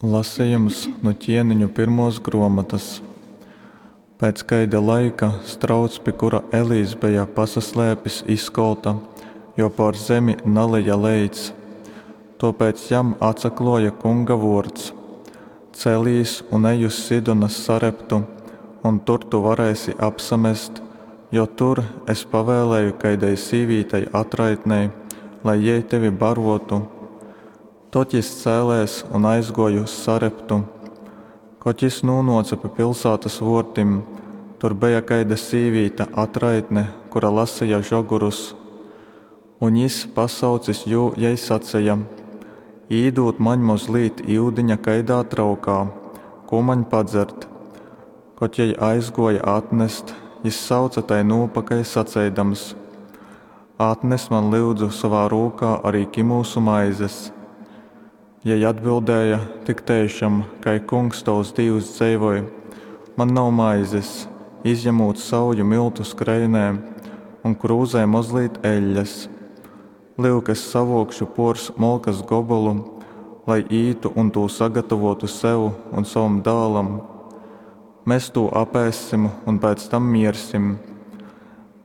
Lasejums nu Ķieniņu pyrmuos gruomotys. Pēc kaida laika strauts, pi kura Elijs beja pasaslēpis, izkolta, jo pōr zemi naleja leits. Tōpēc jam atsaklōja Kunga vōrds, Celīs un ej uz Sidonas Sareptu, un tur tu varēsi apsamest, jo tur es pavēlēju kaidai sīvītei atraitnei, lai jei tevi barōtu. Tod jys cēlēs un aizgōja uz Sareptu. Kod jys nūnōce pi pilsātas vōrtim, tur beja kaida sīvīte atraitne, kura laseja žogorus. Un jys, pasaucis jū, jai saceja, Īdūd maņ mozlīt yudiņa kaidā traukā, kū maņ padzert. Kod jei aizgōja atnest, jys sauce tai nūpakaļ saceidams, Atnes man, lyudzu, sovā rūkā ari kimūsu maizes. Jei atbildēja, Tik teišam, kai Kungs tovs Dīvs dzeivoj, man nav maizes, izjamūt sauju myltu skreinē un krūzē mozlīt eļļas. Lyuk, es savōkšu pōrs molkas gobolu, lai ītu un tū sagatavōtu sev un sovam dālam. Mes tū apēssim un pēc tam miersim.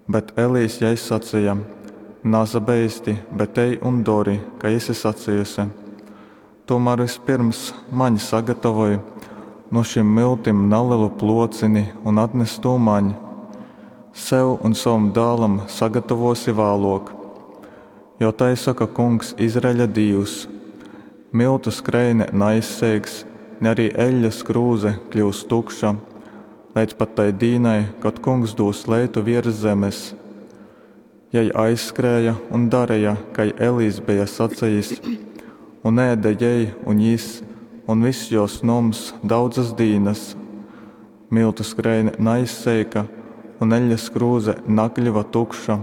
Bet Elijs jai saceja, Nasabeisti, bet ej un dori, kai esi sacejuse. Tūmār vyspyrms maņ sagatavoj nu šim myltim nalelu plōcini un atnes tū maņ. Sev un sovam dālam sagatavōsi vālōk. Jo tai soka Kungs, Izraeļa Dīvs, Myltu skreine naizseiks, ni ari eļļas krūze kļyus tukša, leidz pat tai dīnai, kod Kungs dūs leitu viers zemes. Jei aizskrēja un dareja, kai Elijs beja sacejis, un ēde jei un jis, un vyss jōs noms daudzas dīnas. Myltu skreine naizseika, un eļļas krūze nakļuva tukša,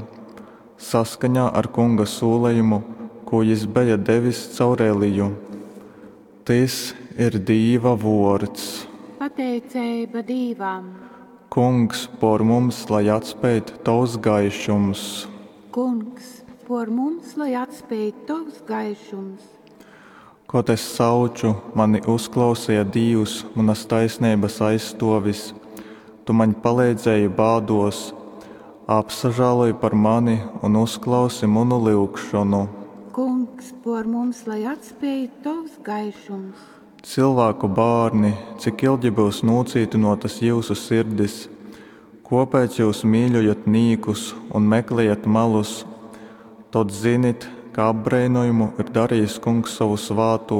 saskaņā ar Kunga sūlejumu, kū jys beja devis caur Eliju. Tys ir Dīva vōrds. Pateiceiba Dīvam. Kungs, pōr mums lai atspeid Tovs gaišums. Kungs, pōr mums lai atspeid Tovs gaišums. Kod es sauču, mani uzklauseja Dīvs, munas taisneibas aizstōvis, tu maņ paleidzēji bādōs. Apsažāloj par mani un uzklausi munu lyugšonu. Kungs, pōr mums lai atspeid Tovs gaišums. Cylvāku bārni, cik ilgi byus nūcītynōtas jyusu sirdis? Kōpēc jyus mīļojat nīkus un meklejat malus? Tod zinit, ka apbreinojamu ir darejis Kungs sovu svātū,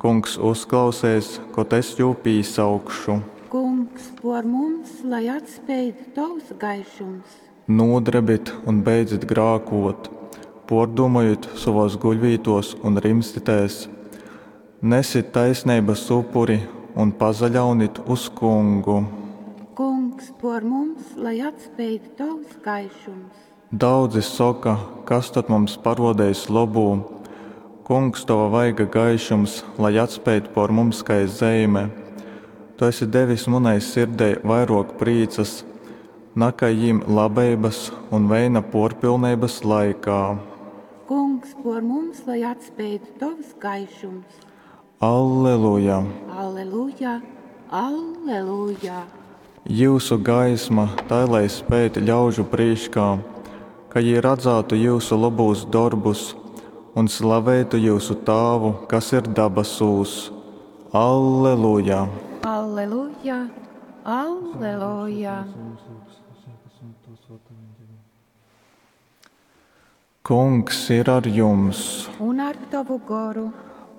Kungs uzklauseis, kod es jū pīsaukšu. Kungs, pōr mums lai atspeid Tovs gaišums. Nūdrebit un beidzit grākōt, pōrdūmojit sovōs guļvītōs un rimstitēs. Nesit taisneibas upuri un pasaļaunit uz Kungu. Kungs, pōr mums lai atspeid Tovs gaišums. Daudzi soka, Kas tod mums parōdeis lobū? Kungs, tova vaiga gaišums lai atspeid pōr mums kai zeime. Tu esi devis munai sirdei vairōk prīcas, nakai jim labeibas un veina pōrpilneibas laikā. Kungs, pōr mums lai atspeid Tovs gaišums. Alleluja! Alleluja! Alleluja! Jyusu gaisma tai lai speid ļaužu prīškā, ka jī radzātu jyusu lobūs dorbus un slaveitu jyusu Tāvu, kas ir dabasūs. Alleluja! Alleluja! Alleluja! Kungs ir ar jums! Un ar tovu goru.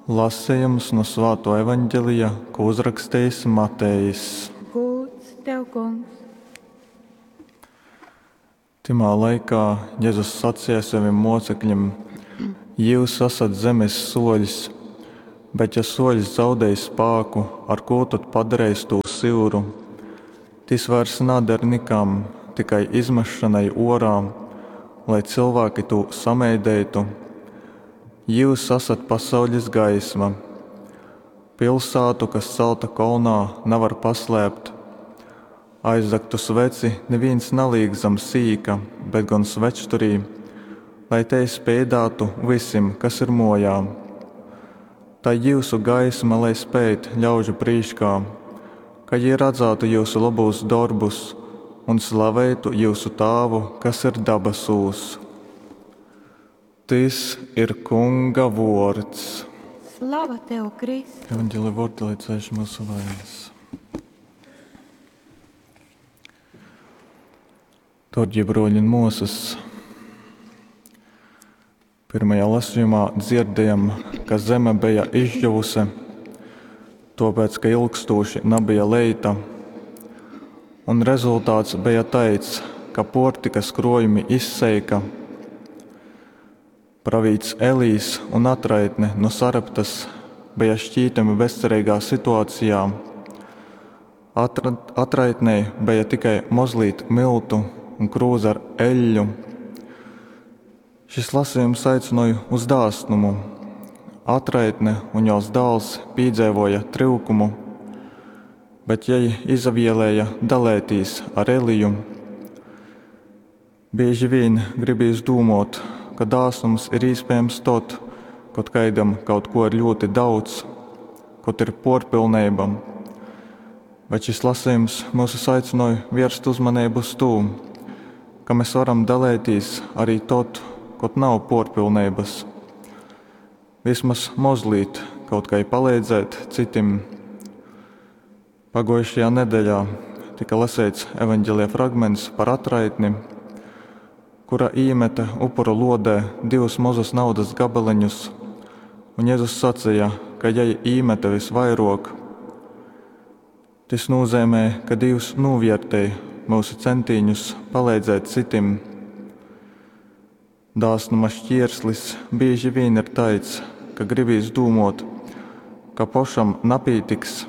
Lasejums nu Svātō Evaņgelija, ko uzrakstījis Matejs. Gūds tev, Kungs! Tymā laikā Jezus saceja sovim mōcekļim: Jyus asat zemes sōļs, bet ja sōļs zaudej spāku, ar kū tod padareis tū syuru? Tys vairs nader nikam, tikai izmesšonai ōrā, lai cylvāki tū sameideitu. Jyus asat pasaules gaisma. Pilsātu, kas celta kolnā, navar paslēpt. Aizdagtu sveci nivīns nalīk zam sīka, bet gon svečturī, lai tei speidātu vysim, kas ir mōjā. Tai jyusu gaisma lai speid ļaužu prīškā, ka jī radzātu jyusu lobūs dorbus un slaveitu jyusu Tāvu, kas ir dabasūs. Tys ir Kunga vōrds. Slava tev, Krist! Evangelija vōrdi, lai cēš myusu vainas. Dārgie broļi un māsas, pirmajā lasījumā dzirdējam, ka zeme bija izžuvuse, tāpēc, ka ilgstoši nebija leita. Un rezultāts bija tāds, ka portikas krojumi izseika. Pravīts Elīs un atraitne no Sareptas bija šķītami bezcerīgā situācijā. Atra, atraitnei bija tikai mozlīt miltu un krūze ar eļļu. Šis lasījums aicināja uz dāsnumu. Atraitne un jos dēls piedzīvoja tryukumu, bet jai izavēlēja dalētīs ar Eliju. Bieži vien gribīs domāt, ka dāsnums ir iespējams tad, kad kaidam kaut ko ir ļoti daudz, kad ir porpilnība. Bet šis lasījums mūs aicināja vērst uzmanību uz to, ka mēs varam dalīties arī tad, kad nav porpilnības. Vismaz mazliet kaut kā palīdzēt citim. Pagājušajā nedēļā tika lasīts evanģēlija fragments par atraitni, kura īmeta upuru lodē divus mazus naudas gabaliņus, un Jēzus sacīja, ka jai īmeta visvairāk. Tas nozīmē, ka Dievs novērtēja mūsu centīņus palīdzēt citim. Dāsnuma šķierslis bieži vien ir tāds, ka gribīs domāt, ka pašam napītiks.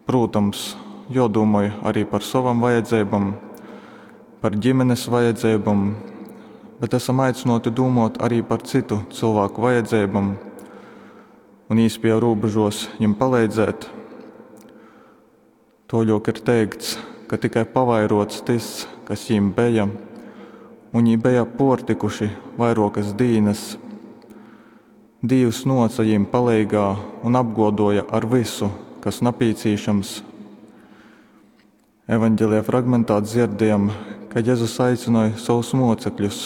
Protams, jodomāju arī par savam vajadzībām, par ģimenes vajadzībām, bet esam aicināti domāt arī par citu cilvēku vajadzībām un īspēju robežos viņam palīdzēt. Toļok ir teikts, ka tikai pavairots tas, kas viņiem bija, un viņi bija portikuši vairokas dīnas. Dievs noca viņiem palīgā un apgodoja ar visu, kas napīcīšams. Evanģēlijā fragmentā dzirdējam, ka Jēzus aicināja savus mocekļus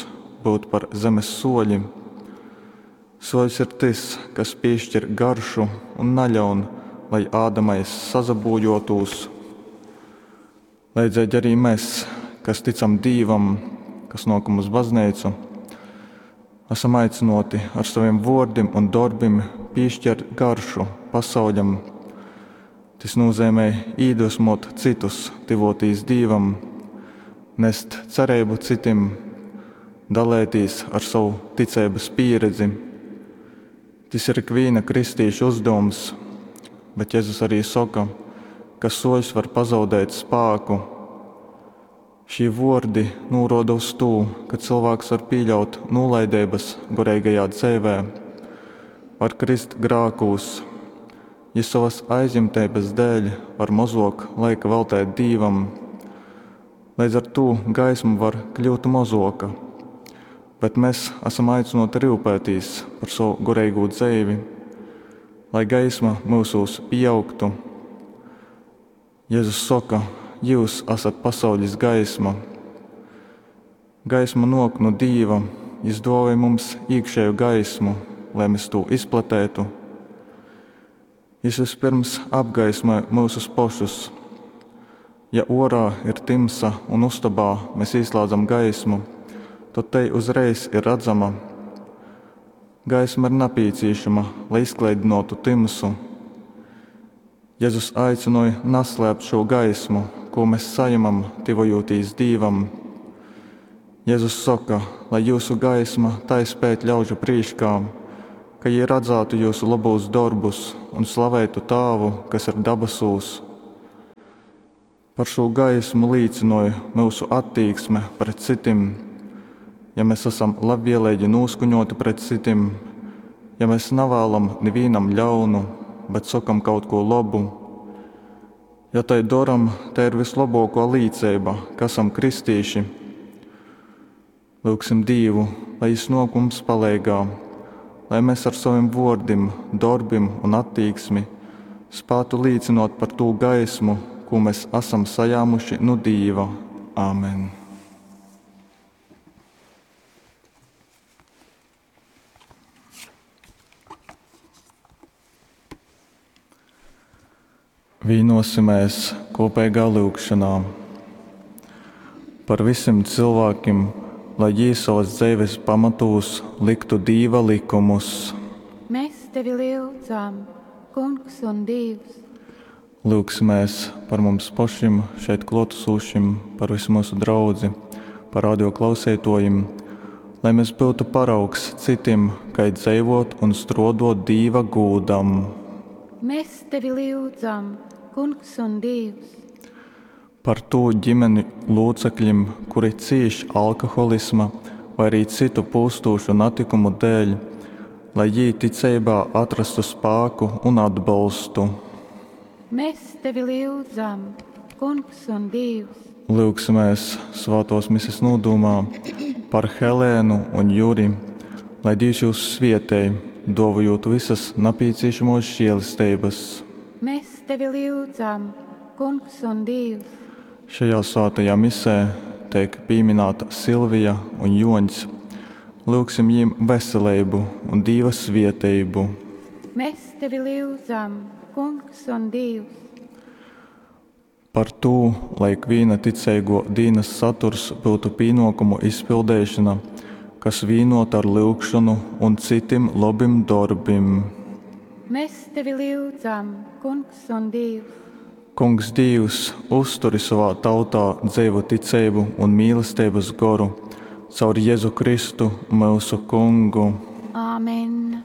būt par zemes soļi. Soļs ir tas, kas piešķir garšu un naļaun, lai ādamais sazabūjotos. Leidzīgi arī mēs, kas ticam Dievam, kas nokam uz baznīcu, esam aicināti ar saviem vārdiem un darbiem piešķirt garšu pasauļam. Tas nozīmē iedvesmot citus, tivotīs Dievam, nest cerību citim, dalēties ar savu ticības pieredzi. Tas ir ikviena kristīša uzdevums, bet Jēzus arī saka, ka soļs var pazaudēt spēku. Šī vārdi norāda uz to, ka cilvēks var pieļaut nolaidības garīgajā dzīvē, var krist grākūs, ja savas aizņemtības dēļ var mazāk laika veltēt Dievam. Līdz ar to gaisma var kļūt mazoka, bet mēs esam aicināti rūpēties par savu garīgo dzīvi, lai gaisma mūsos pieaugtu. Jēzus saka, jūs esat pasaules gaisma. Gaisma nāk no Dieva, Jis dāvāja mums iekšēju gaismu, lai mēs to izplatētu. Jis vispirms apgaismoja mūsus pašus. Ja orā ir timsa un ustabā mēs ieslēdzam gaismu, tad te uzreiz ir redzama. Gaisma ir nepieciešama, lai izklaidinātu timsu. Jēzus aicināja neslēpt šo gaismu, ko mēs saņemam, tuvojoties Dievam. Jēzus saka, lai jūsu gaisma tai spēt ļaužu prīškā, ka jie redzētu jūsu labos darbus un slavētu Tāvu, kas ir dabasūs. Par šo gaismu liecināja mūsu attieksme pret citim. Ja mēs esam labvēlīgi noskaņoti pret citiem, ja mēs nevēlam nevienam ļaunu, bet sakam kaut ko labu, ja tai daram, te ir vislabāko līdzība, ka esam kristīši. Lūgsim Dievu, lai Viņš nāk mums palīgā, lai mes ar sovim vuordim, dorbim un attīksmi spātu līcynuot par tū gaismu, kū mes asam sajāmuši nu Dīva. Āmen. Vīnosimēs kopīgā lyugšanā par visiem cilvēkiem, lai jī savas dzeives pamatūs liktu Dīva likumus. Mēs tevi lyudzam, Kungs un Dīvs. Lyugsimēs par mums pašim, šeit klōtasūšim, par visu mūsu draudzi, par radio klauseitōjim, lai mēs byutu paraugs cytim, kai dzeivōt un strōdōt Dīva gūdam. Mēs tevi lyudzam, Kungs un Dīvs. Par tū ģimeni lūcekļim, kuri cīš alkoholisma vai arī citu pūstūšu natikumu dēļ, lai jī ticeibā atrastu spāku un atbolstu. Mēs tevi lyudzam, Kungs un Dīvs. Lyugsimēs svātōs mises nūdūmā par Helēnu un Juri, lai Dīvs jūs svietej, dōvojūt visas napīcīšamōs žielesteibas. Mēs tevi lyudzam, Kungs un Dīvs. Šajā svātajā misē teik pīmināta Silvija un Juoņs. Lyugsim jīm veseleibu un Dīva svieteibu. Mēs tevi lyudzam, Kungs un Dīvs. Par tū, lai ikvīna ticeiguo dīnas saturs byutu pīnuokumu izpildeišona, kas vīnuota ar lyugšonu un cytim lobim dorbim. Mēs tevi lyudzam, Kungs un Dīvs. Kungs Dīvs, uzturi sovā tautā dzeivu ticeibu un mīlesteibas goru caur Jezu Kristu, myusu Kungu. Āmen.